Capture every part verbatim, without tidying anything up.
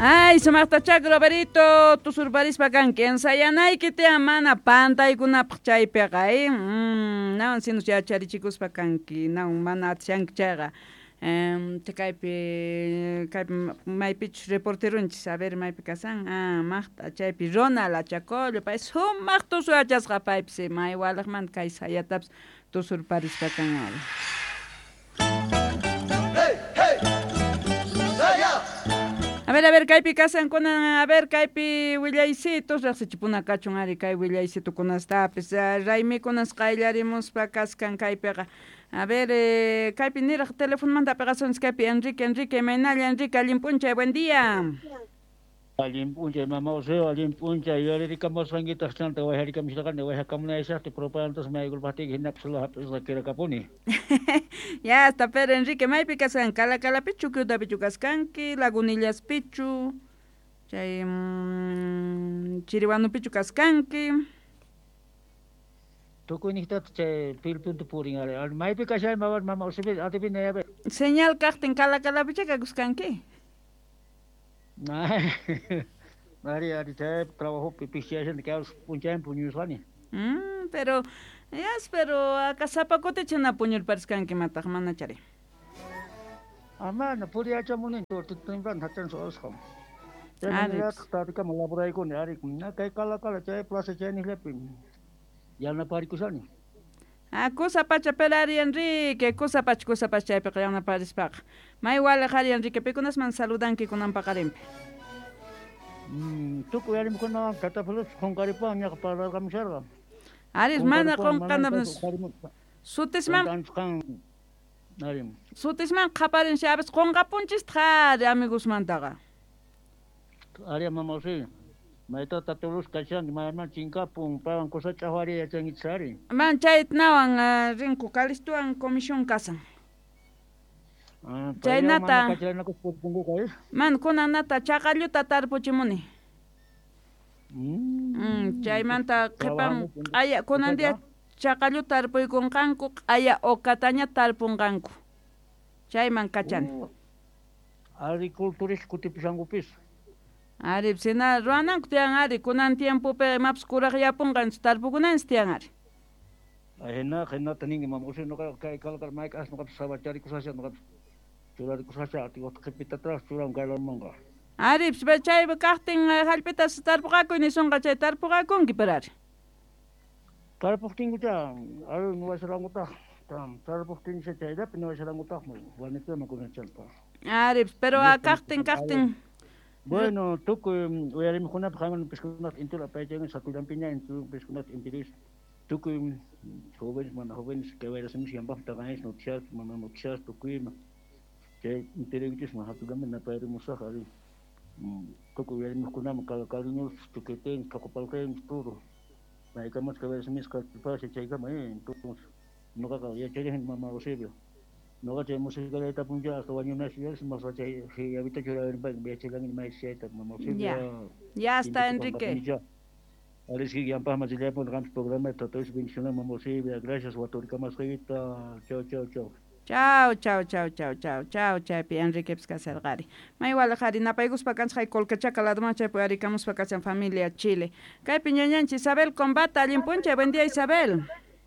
Ay, sumaqtachá Roberito, tusurparispa kanki ensayanayki tiyan mana pantaykunapaq chaypiqa, eh? Mm, nawan sinus yacharichikuspa kanki, nawan mana atishanki chayqa. Um, kaypi kaypi maypichus reporterunchis, a ver maypi kasan, ah, maqta chaypi Ronald Achacollo, pay sumaq tusuyachasqa paypis, may walaqmanta kay sayatapis tusurparispa kan ari. Hey, hey! Saya! A ver, a ver, kaypi kasan kunan, a ver, kaypi willaysitos, riqsichipuna kachun ari kay willaysitukunastapis, raymikunas qayllarimuspa kaskan kaypiqa. A ver, eh, kaypi niraq telefonomanta apiqasunchis kaypi Enrique, Enrique, imaynalla Enrique, allin p'unchay, buen día. Allin p'unchay, mama Oseo, allin p'unchay, yuyaririkamosqankitaq chanta wayharikamusharqani, wayhakamunayashaqti propagandas maykulpaqtiyki hinapis hap'isqa kirakapuni. Ya está, pero Enrique, maypi kaskan, Calacalapichu, Kyutapichu kaskanki, Lagunillaspichu, chay mm, Chiriwanupichu kaskanki. Tukuyniqtata chay pilpunta purin ari, maypi kashay mama mama Oseo, atipina yabe. Señal kaqtin Calacalapicha kakuskanki. Ari, ari, chay trabajopi pishiyashani kay p'unchaymi puñusqani. Mm, pero, yas, pero acá sapa kutichina puñurpariskanki mataq mana chari. Ah, mana puriyachamunin temprano hachansu usqan. Ari. Chaymanallataq tardekama laboraykuni ari, na kay Calacala chay plaza chayniqllapi yanaparikusani. Ah, kusa pacha pero ari Enrique, kusa pacha, kusa pacha chaypiqa yanaparispaqa. May waliq ari Enrique, pikunasman saludanki kunan paqarinpi. Mm, tukuy arimikunawan tatapulus qunqaripuwan ñaqa parlarqamusharqa. Ari, mana Qunqaripuwan qunqana sutisman qan ari. Sutisman qaparin xabes qunqapunchistaq ari amigosmantaqa. Ari mama Oseo. Mayta tatulus kashan mayman chinkapun paywan kusa ch'aqwari yachankichis ari. Man chaytnawan uh, rinku Calistuwan comisión kasan. Ah, Chaynata. Kacharanakus eh? Man kunanata chaqalluta tarpuchimuni. Mm. Mm, chaymanta qhipan Trabajando q'aya kunan día chaqalluta tarpuykunqanku q'aya uqataña tarpunqanku. Chayman kachani. Oh, agricultores kutipishankupis. Ari, sina ruwananku tiyan ari, kunan tiempopi imapas kuraqyapunqanchis tarpukunanchis tiyan ari. Hina hinata ninki mama Oseo nuqa kay Calacala mayk'as nuqapis sabacharikusasha nuqapis churarikusasha atiwaqta qhipitataraq churan kaylamanqa. Ari, chay kaqtin hallp'itas tarpuqakuy nisunqa chay tarpuqakunki pero ari. Tarpuqtinkucha ari nuwasarankutaq tarpuqtincha chayllapi nuwasarankutaqmi wanitama kunanchanta. Ari, pero kaqtin kaqtin. Bueno, tukuy uyarimikunapaq qanman piskunata intiro apaychanki satullanpiña intiro piskunata intiris tukuy jóvenes mana jóvenes kay wayrasimis yanpaqmi taqanchis noticias mana noticias tukuyma chay intirikichisman hatullanpi napayrimusaq ari tukuy uyarimiqkunaman cariñosos chuquetenchis tqoqopalqenchis todo maykamas kay wayrasimisqa pasa chaykama eh entonces nuqaqa yachariyani mama Eusebio nuqa chay musicaleta puncha hasta wañunashillapas mas chay yavita churarani yachalani maychis chayta mama Eusebio. Ya, ya está Enrique. Arisqui yanpaqman rillaypuni qampis programa tatoysi bendiciones mama Eusebio, gracias waturikamasqaykita, chau chau chau. Chau, chau, chau, chau, chau, chau, chaypi Enriquepis kasarqari. May waliq ari napaykuspa kanchis hay Colquechaca ladoman chaypi arikamuspa kashan familia Chile. Kaypi ñañanchis Isabel Combata, allin p'unchay, buen día Isabel.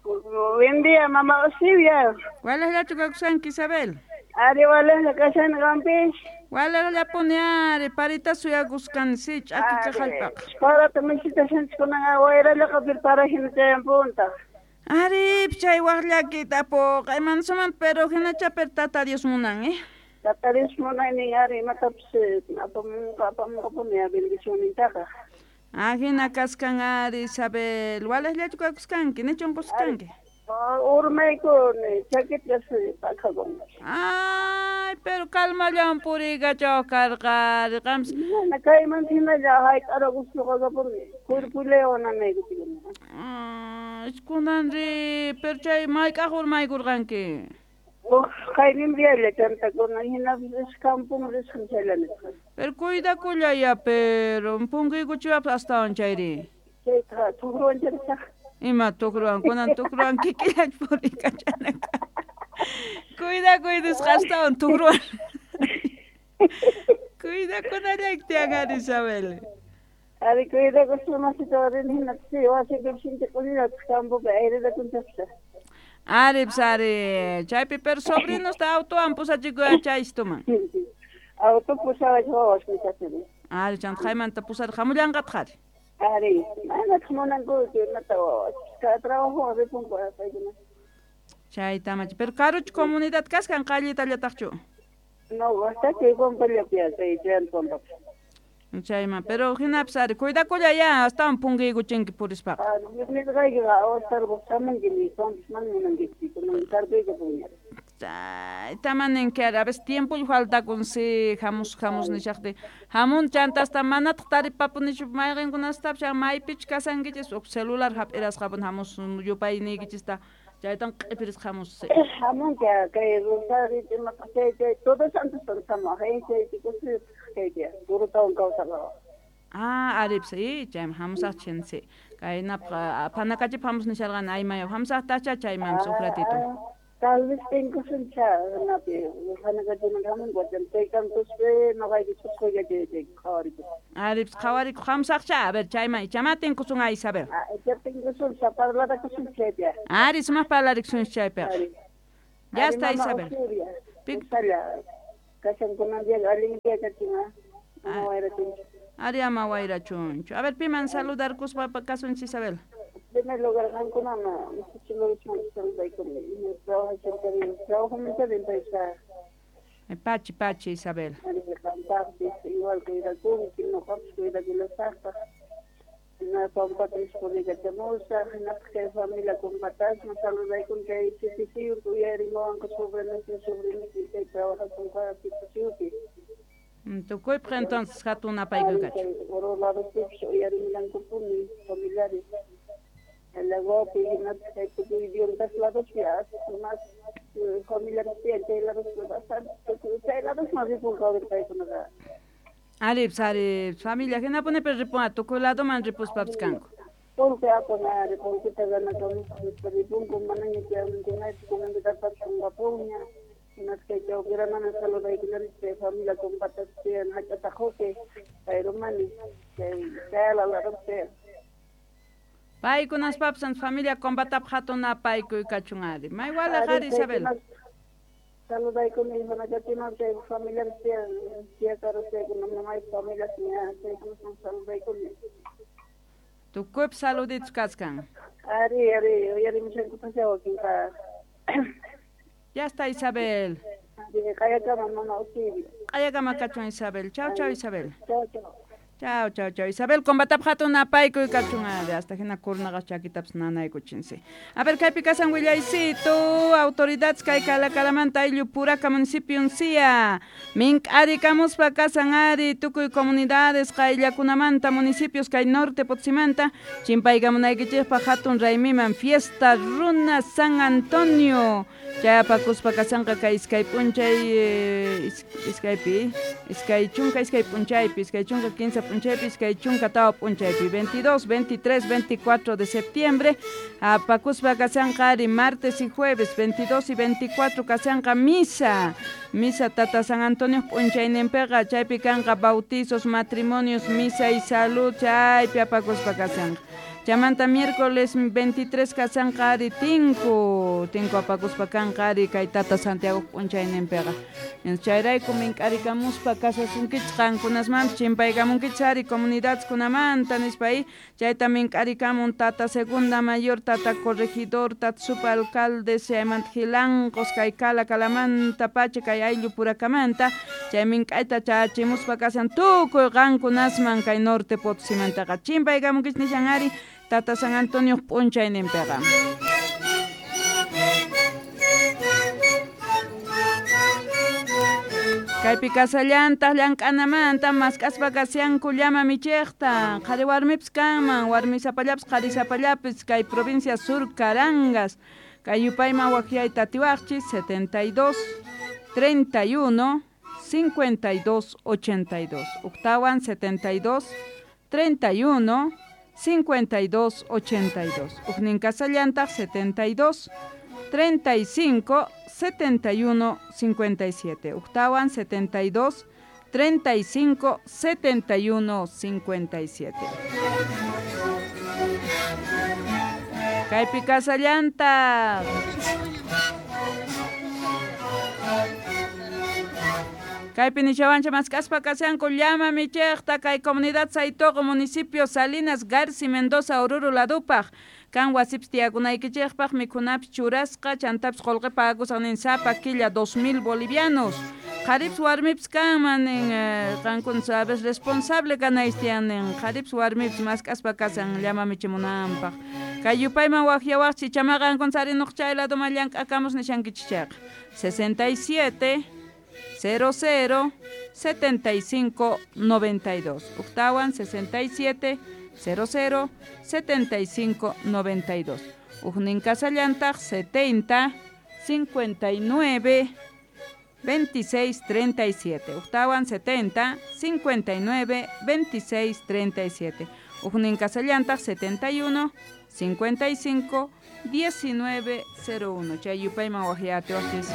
Buen día, mamá Eusebia. Waliqllachu kakushanki Isabel? Ari waliqlla kashani qampis. Waliqllapuni ari parita suyakusqani si ch'akika hallp'aqa. Parata mishitashanchis kunan wayrallaqa pero para hina chayanpuntaq. Ari, chay waq llakita tapuqa imanasumanta pero hinacha pero tata Dios munan, eh? Tata Dios munaynin ari imatapis apamunqa apamunqapuni bendicionnintaqa. Ah, hina kaskan ari Isabel, waliqllachu kakusqanki, nichu unqusqanki? Urmaykuni chakitas pakakun. Ay, pero calmallawan puriykachaw karqa ari qampis. Mana kayman hinalla hayt'arakusqakapuni cuerpuyllawan nanaykuchikuni. Ay, kunan ri, pero chay mayk'aq urmaykurqanki? Uq qaynindialla chantakuna hinapis kampun risqan chayllani. Pero cuidakullaya, pero punkuykuchiwapas astawan chayri. Chayta tukruwan charisaq. Ima tukruwan, kunan tukruwan kikillach puriykachanaka. Cuidakuy nisqa astawan tukruwan. Cuidakunallayki tiyan ari Isabel. Ari cuidakuspa masita warini hinapis wasipi sintikunillataq campopi airerakunchaqsa. Ari pues ari chaypi pero sobrinosta autowan pusachikuy chaystuman. Auto pusawach wawas nisachani. Ari chanta haymanta pusar hamullanqataq ari. Ari manataq munankuchu imata wawas. Cada trabajowan ripunku paykuna. Chaytamachi pero karuchu comunidad kaskan qallitallataqchu. No, bastante pampallapi kay chay pampapi. Chayman pero hinapis ari cuidakulla ya astawan punkiykuchinki purispaqa. Nisqaykiqa awastarqu hamunki nispanpis mana munankichu kunan tardeykapunña. Chaytaman ninki ari a veces tiempolla faltakun si hamus hamus nishaqtin hamun chanta hasta manataq taripapunichu mayqinkunastapis maypichu kasankichis huk celular hap'irasqapun hamus yupayniykichista chaytan q'ipirisqa hamus. Hamunki kay Rosario imataq chay chay Todos Santos hamuq chay chaypi kay turutawan kawsaqqa. Ah, aripis i chayman hamusaq chinsi kaynapaq phanakachip hamus nisharqani aymayaw hamusaqtacha chaymanpis huk ratito. Tal vez tinkusuncha napi phanakachiman hamunku chay kantuspi noqayki ch'usquylla chay chay qhawarikuq. Aripis qhawarikuq hamusaqcha a ver chayman ichama tinkusun a Isabel. Ah, icha tinkusun parlarakusun chaypi. Ari sumaq parlarikusun chaypiqa. Ya está Isabel. Kashankunan día allin día kachun ama wayrachunchu. Ari ama wayrachunchu. A ver piman saludarkuspa kasunchis Isabel. En primer lugar qankunama saludaykuni. Trabajamanta payqa. Pachi pachi Isabel. Ari qampaqpis igual cuidakunki ñuqapis cuidakullasaqtaq. Hina pampata purikachamusaq hinapaq kay familia kumpatasma saludaykuni kay Titisiyupi uyarimuwanku sobrinosniy sobrinosniy chay trabajakunqa Titisiyupi. Tukuypaq entonces hatun apaykuy kachun. Oro ladospipis uyarimullankupuni familiares. Lagopi hinapaq kay tukuy Yungas ladospi más familiares tiyan chay ladospi bastante chay ladosman ripunqa paykunaqa. Aripis ari familia hinapunipi ripunqa tukuy ladoman ripuspapis kanku. Qullqi apan ari qullqita ganakamuspa ripunku manaña chayamunkunachu kunanpitapapis qunqapunña hinaspa kay chawpiramana saludaykullani chay familia kumpatas tiyan hach'ataqupi payrumani chay chayala ladopi tiyan. Paykunaspapis familia combatapaq hatun apaykuy kachun ari. May walaq ari Isabel. Saludaykuni Phanakachiman chay familiares tiyan tiyakaros chaykuna mamaypa familias chaykunasman saludaykuni. Tukuypis saluditos kaskan. Ari ari uyarimushankupascha wakinqa. Ya está Isabel. Ari q'ayakama mama Usibi. Q'ayakama kachun Isabel. Chau chau Isabel. Chau chau. Chau chau chau Isabel combatapaq hatun apaykuy kachun ari hasta hina kurnaqa chakitapis nanaykuchinsi. A ver kaypi kasan willaysitu autoridades kay Calakalamanta ayllu Puraka municipio sia mink'arikamuspa kasan ari tukuy comunidades qayllakunamanta municipios kay norte Potosímanta chimpaykamunaykichikpaq hatun raymiman fiesta runa San Antonio chayapakuspa kasanqa kay iskay p'unchay iskaypi iskay chunka iskay p'unchaypi iskay chunka kinsa p'unchaypi iskay chunka tawa p'unchaypi veintidós, veintitrés, veinticuatro de septiembre apakuspa kasanqa ari martes y jueves veintidós y veinticuatro kasanqa misa misa Tata San Antonio p'unchayninpiqa chaypi kanqa bautizos, matrimonios, misa y salud chaypi apakuspa kasanqa. Chamanta miércoles veintitrés kasanqa ari tinku tinku apakuspa kanqa ari kay Tata Santiago p'unchayninpiqa. Chayrayku mink'arikamuspa kasasunkichik qankunasmanpis chimpaykamunkichik ari comunidadeskunamanta nispa chayta mink'arikamun Tata Segunda Mayor, Tata Corregidor, Tata Supa Alcalde, chaymanta Jilanqos kay Calakalamanta pacha kay ayllu Purakamanta chay mink'ayta chachimuspa kasan tukuy qankunasman kay norte Potosímantaqa chimpaykamunkichik nishan ari Tata San Antonio p'unchayninpiqa. Kaypi kasallantaq llank'anamanta mask'aspa kasyanku llama michiqta qhari warmipis kanman warmisapallapis qharisapallapis kay provincia Sur Carangas kay yupayman waqyayta atiwaqchis setenta y dos, treinta y uno, cincuenta y dos, ochenta y dos octawan setenta y dos, treinta y uno, cincuenta y dos, ochenta y dos Ujnin kasallantaq setenta y dos, treinta y cinco, setenta y uno, cincuenta y siete. Octawan setenta y dos, treinta y cinco, setenta y uno, cincuenta y siete. Kaypi kasallanta. Kaypi nishawancha mask'aspa kashanku llama michiqta kay comunidad Saytoqo municipio Salinas Garci Mendoza Oruro ladupaq kan wasipis tiyakunaykichikpaq mikhunapis churasqa chantapis qullqi pagakusaq nin sapa killa dos mil bolivianos qharipis warmipis kanman nin qankuna sabes responsable kanaychis tiyan nin qharipis warmipis mask'aspa kasan llama michimunanpaq kay yupayman waqyawaqchis ichamaqa qankuna sarinuq chay laduman llank'akamus nishankichis chayqa sesenta y siete cero cero setenta y cinco noventa y dos. Uktawan sesenta y siete cero cero setenta y cinco noventa y dos. Ujnin kasallantaq setenta cincuenta y nueve veintiséis treinta y siete. Uktawan setenta cincuenta y nueve veintiséis treinta y siete. Ujnin kasallantaq setenta y uno cincuenta y cinco diecinueve cero uno. Chay yupayman waqyatiwaqchis.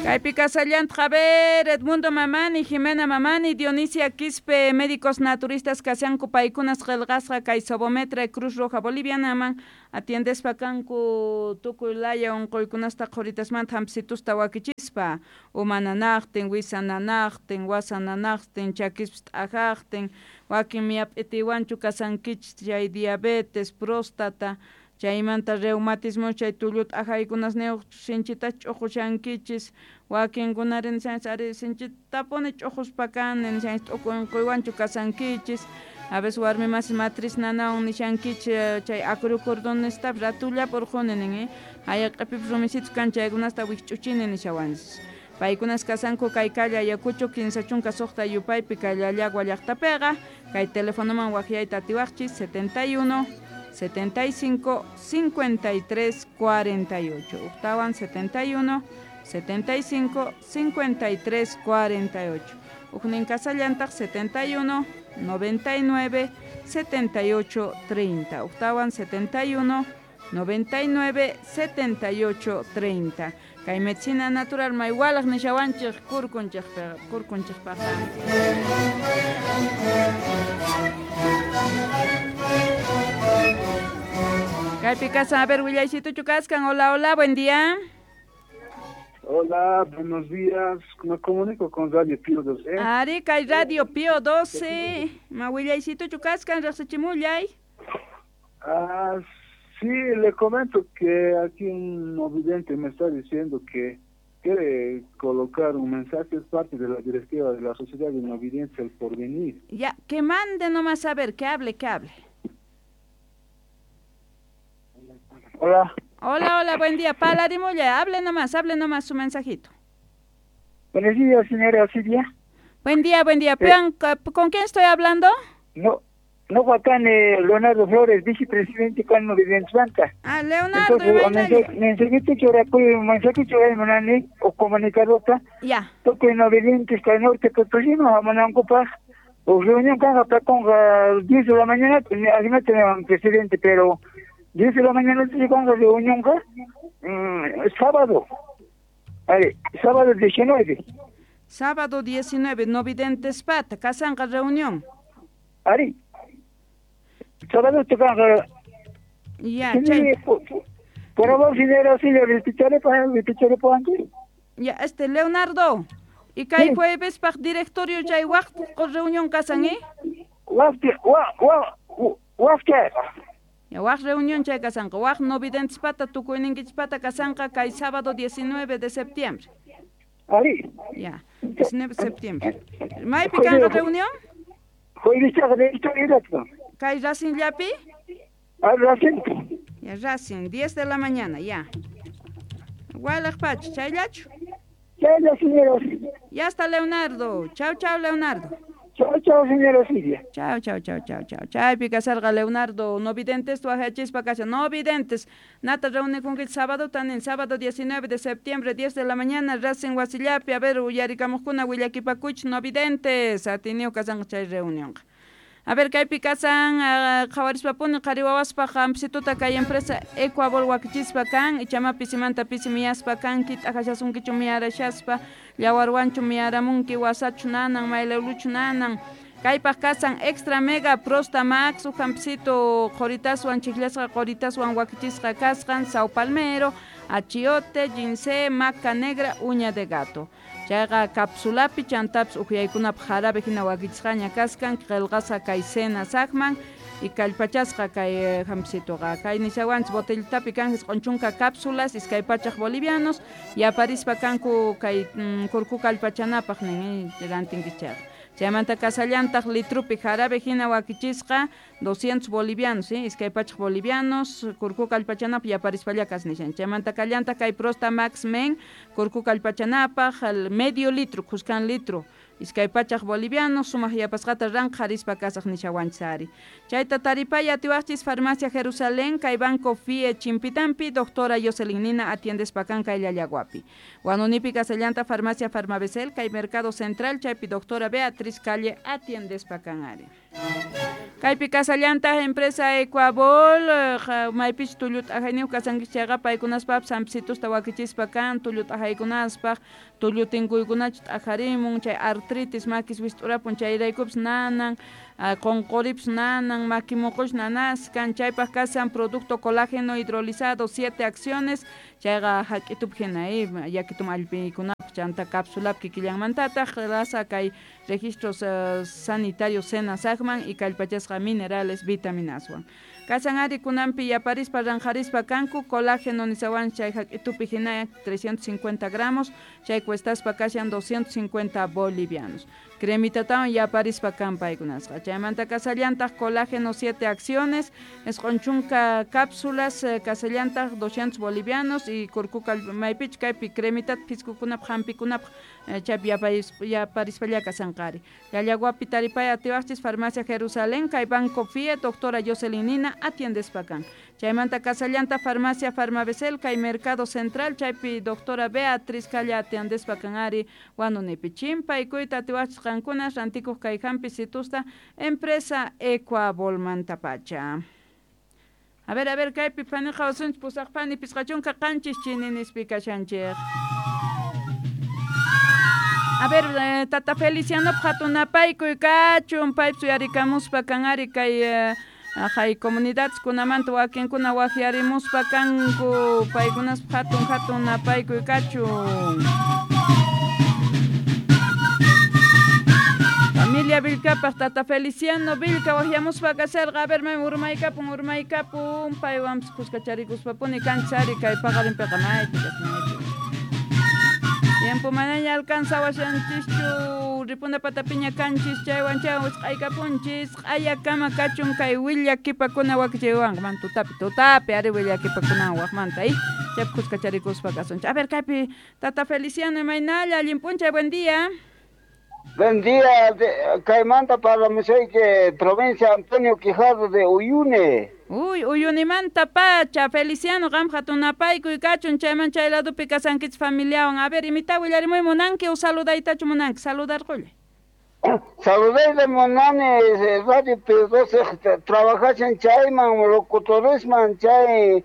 Kaypi kasallantaq, a ver, Edmundo Mamani, Jimena Mamani, Dionisia Quispe, médicos naturistas kashanku paykunas qillqasqa kay Sobometra Cruz Roja Bolivianaman atiendespa kanku tukuy laya unquykunasta qhuritasmanta hampsitusta wakichispa uma nanaqtin, wisa nanaqtin, wasa nanaqtin, chakispis t'ajaqtin, wakin miyap'itiwanchu kasankichis chay diabetes, próstata, chaymanta reumatismo chay tulluta ajaykunasniyuq sinchita ch'uqushankichis wakinkunari nishanchis ari sinchitapuni ch'uquspa kani nishanchis t'uku unquywanchu kasankichis a veces warmi masi matriz nanawan nishankichis chay acrocordones-tapas ratullapi urquni nin eh haya q'ipipis rumisitus kan chaykunasta wikch'uchini nishawanchis paykunas kasanku kay calle Ayacucho kinsa chunka suqta yupaypi kay Llallagua llaqtapiqa kay telefonoman waqyayta atiwaqchis setenta y uno setenta y cinco cincuenta y tres cuarenta y ocho. Uktawan setenta y uno setenta y cinco cincuenta y tres cuarenta y ocho. Ujnin kasallantaq setenta y uno noventa y nueve setenta y ocho treinta. Uktawan setenta y uno noventa y nueve setenta y ocho treinta. Kay medicina natural maywalaq nishawanchik kurkunchikpiqa kurkunchikpaqqa. Kaypi kasan, a ver, willaycituchu kaskan. Hola, hola, buen día. Hola, buenos días. Me comunico con Radio Pío doce. Ari, kay Radio Pío doce. Ma willaycituchu kaskan, riqsichimullay. Ah, sí, le comento que aquí un vidente me está diciendo que quiere colocar un mensaje, es parte de la directiva de la Sociedad de Innovidencia El Porvenir. Ya, que mande nomás, a ver, que hable, que hable. Hola. Hola, hola, buen día. Palarimulla, hable nomás, hable nomás su mensajito. Buenos días, señora Silvia. Buen día, buen día. Eh, ¿Con quién estoy hablando? No, no, Juan eh, Leonardo Flores, vicepresidente con Novidentes Banca. Ah, Leonardo. Entonces, mensajito que ahora, mensajito que o comunicador, ya. Toque Novidentes, que norte, Potosí, no, o reunión con diez de la mañana, además tenemos un presidente, pero diez de la mañana con la reunión, mm, sábado, a ver, sábado diecinueve. Sábado diecinueve, Novidentes Pata, Casanca reunión. Ari, sábado tocan. Ya, che. Por favor, señora, sí, le repitaré para repitaré por antes. Ya, este, Leonardo, y kay jueves pa directorio chay waq reunión kasan, ¿eh? Waq, waq, waq, Ya, waq reunión chay kasanqa, waq Novidentes Pata, tukuyninkichis pata kasanqa kay sábado diecinueve de septiembre. Ari. Ya, diecinueve de septiembre. ¿Maypi kanqa reunión? Jueves directorio. Kay Racing llapi? Ah, Racing. Ya, Racing, diez de la mañana, ya. Walaq pacha, chayllachu. Chaylla, señora. Ya está, Leonardo. Chau, chau, Leonardo. Chau, chau, señora Silvia. Chau, chau, chau, chau, chau. Chaypi kasarqa Leonardo. No videntes, tuajachispa kasha. No videntes. Nata reúne con el sábado, tanin, sábado diecinueve de septiembre, diez de la mañana, Racing Wasillapi. A ver, uyarikamujkuna, willakipakuch, no videntes. Atiniu kasanqa chay reunión. A ver, kaypi kasan qhawarispapuni qhari wawaspaq hampisituta kay empresa Ecuabol wakichispa kan, ichama pisimanta pisi miyaspa kanki, t'aqashasunkichu miyarashaspa, llawarwanchu miyaramunki, wasachu nanan, maylawluchu nanan. Kaypaq kasan Extra Mega Prosta Max, uj hampisito qhoritaswan chiklasqa qhoritaswan wakichisqa kasqan, Sao Palmero, achiote, ginseng, maca negra, uña de gato. Chayqa capsulapi chantapis ukyaykunapaq jarabe hina wakichisqaña kaskan, qillqasqa kay cena saqman y kallpachasqa kay hampisituqa. Kay nishawanchis botellitapi kan isqun chunka cápsulas, iskay pachaq bolivianos, yaparispa kanku kay kurku kallpachanapaq nin rantinkichis chayqa. Chaymanta kasallantaq litrupi jarabe hina wakichisqa doscientos bolivianos, ¿sí? Iskay pachaq bolivianos, kurku kallpachanapaq yaparispalla kasnishan. Chaymanta kallantaq kay Prosta Max Men, kurku kallpachanapaq medio litro, khuskan litro, iskay pachaq bolivianos, sumaq yapasqata ranqharispa kasaq nishawanchis ari. Chayta taripay atiwaqchis Farmacia Jerusalén, kay Banco F I E Chimpitampi, doctora Jocelyn Nina atiendespa kan kay Llallaguapi. Huanunipi kasallanta Farmacia Farmabesel, kay Mercado Central, chaypi doctora Beatriz Calle atiendespa kan ari. Kaypi kasallanta empresa Ecuabol, maypich tullut ajayniyuq kasankichis chayqa paykunaspapis hampisitusta wakichispa kan, tullut ajaykunaspaq, tullutinkuykuna t'ajarimun, chay artritis makis wist'urapun chayraykupis nanan, qunquripis nanan, maki muqush nanaskan, chaypaq kasan producto colágeno hidrolizado siete acciones, chayqa hak'itup hina yakitum allpikunapaq chanta cápsulapi kikillanmantataq rasa kay registros uh, sanitarios senasaqman y kallpachasqa minerales vitaminaswan. Kasan ari kunanpi yaparispa ranqharispa kanku colágeno nisawan chay hak'itupi hina trescientos cincuenta gramos, chay cuestaspa kashan doscientos cincuenta bolivianos. Cremitatawan yaparispa kan paykunasqa. Chaymanta kasallantaq colágeno siete acciones, isqun chunka cápsulas, kasallantaq doscientos bolivianos y kurkuka maypich kaypi cremitat piskukunapaq hampikunapaq chaypi yaparispalla kasanqari. Llallaguapi taripay atiwaqchis Farmacia Jerusalén, kay Banco F I E, doctora Jocelyn Nina atiendespa kan. Chaymanta kasallanta Farmacia Farmabesel, kay Mercado Central, chaypi doctora Beatriz Calla atiendespa kan ari Huanunipi. Chimpaykuyta atiwaqchis qankuna rantikuq kay hampisitusta empresa Ecuabolmantapacha. A ver, a ver, kaypi paniqa wasunchis pusaq pani pisqachunka qanchis chininispi kashanchik. A ver, eh, tata Feliciano hatunapaykuy kachun, paypis uyarikamuspa kan ari kay eh, hay comunidades kunamanta wakinkuna waqyarimuspa kanku, paykunaspa hatun hatun napaykuy kachun. Familia Vilcapaq tata Feliciano Vilca waqyamuspa kasharqa, a ver, may urmaykapun urmaykapun, paywanpis kuskacharikuspa-puni kanchis ari kay paqarinpiqa maypi maypi. Tiempo manaña alcanzawashanchischu, ripuna patapiña kanchis, chaywan chaywan wisq'aykapunchis, q'ayakama kachun kay willakipakuna wakichaywanqa, man tutapi tutapi ari willakipakuna waqmanta, eh, chaypi kuskacharikuspa kasunchis. A ver, kaypi tata Feliciano imaynalla, allin p'unchay, buen día. Buen día, kaymanta parlamusayki, provincia Antonio Quijardo de Uyuni. Uy, Uyunimanta pacha, Feliciano, qam hatunapaykuy kachun, chayman chay ladupi kasankichis familiawan. A ver, imita willarimuy munanki o saludaytachu munanki, saludarqullay. Saludayta munani, Radio P doce, trabajashan chayman, locutoresman, chay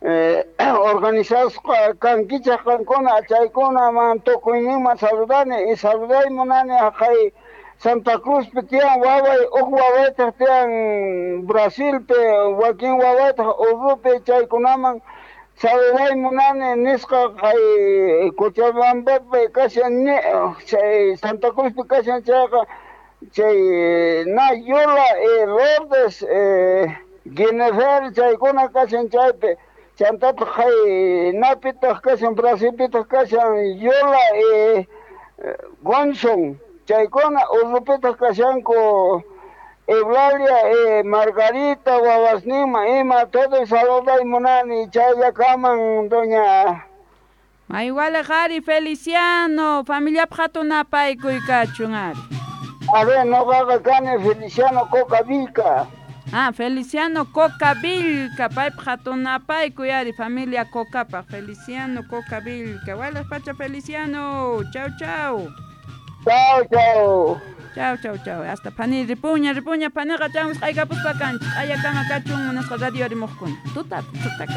eh, organizasqa kankichaq qankuna, chaykunaman tukuyninman saludani, y saluday munani haqay Santa Cruzpi tiyan waway, uj wawaytaq tiyan Brasilpi, wakin wawaytaq Urupi, chaykunaman saluday munani nisqa kay Cochabambapi kashan chay Santa Cruzpi kashan chayqa chay Nayola, eh, Lourdes, eh, Guinefer, chaykuna kashan chaypi. Chantataq kay napitaq kashan Brasilpitaq kashan Yola, eh, Gonson, chaykuna Urupitaq kashanku Eulalia, eh, Margarita, wawasninman ima, todo saluday munani chayllakaman doña. Maywalaq ari Feliciano, familiapaq hatunapaykuy kachun ari. A ver, noqaqa kani Feliciano Coca Vilca. Ah, Feliciano Coca Vilca, paypaq hatunapaykuy ari, familia Cocapaq, Feliciano Coca Vilca. Walaq pacha Feliciano, chau chau. Chao, chao. Chao, chao, chao. Hasta phani ripuña, ripuña, phaniqa chamus q'aykapuspa kanchik. Q'ayakama kachun munasqa radio rimuqkuna. Tuta, tutaka.